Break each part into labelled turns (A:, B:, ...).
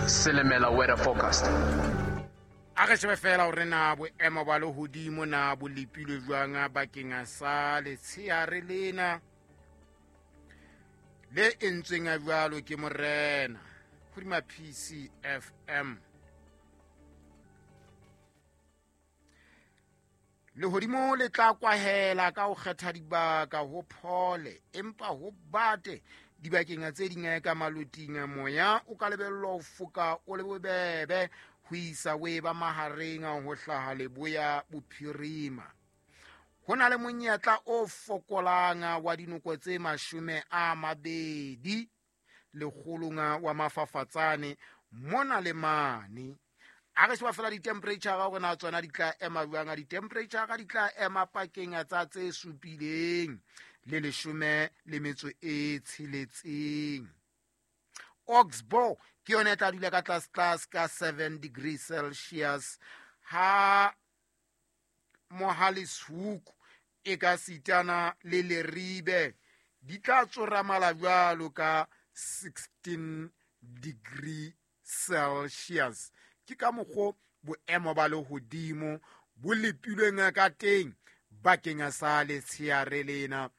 A: Silimela weather forecast.
B: A re shebe fela hore na boemo ba lehodimo na bo lepilwe jwang bakeng sa letsheare lena le entsweng jwalo ke morena hodima PCFM. Lehodimo le tla kwahela ka ho kgetha dibaka ho phole, empa ho bate dibakeng tse ding ka maloting. Moya o ka lebellwa ho foka o le bobebe ho isa o eba mahareng ho hlaha leboya bophirima. Ho na le monyetla o fokolang wa dinoko tse 20 lekgolong wa mafafatsane mona le mane. A re sheba fela di-temperature hore na tsona di tla ema jwang. Di-temperature di tla ema pakeng tsa tse 7 le 16. Oxbow ke yona e tla dula ka tlase tlase ka 7 degrees Celsius, ha Mohale's Hoek e ka sitana le Leribe di tla tsoramala jwalo ka 16 degree Celsius. Ke ka mokgo boemo ba lehodimo bo lepilweng ka teng bakeng sa letsheare lena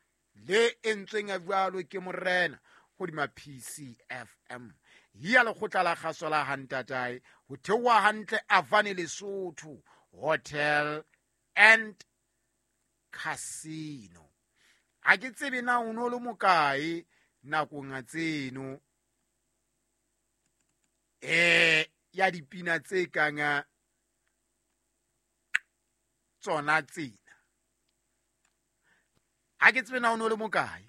B: le entsweng jwalo ke morena hodima PCFM ya lekgotla la kgaso la Hantatae ho theoha hantle Avane Lesotho Hotel and Casino. Ha ke tsebe na o no le mokae nakong tseno ya dipina tse kang tsona tsena. Ha ke tsebe na o no le mokae.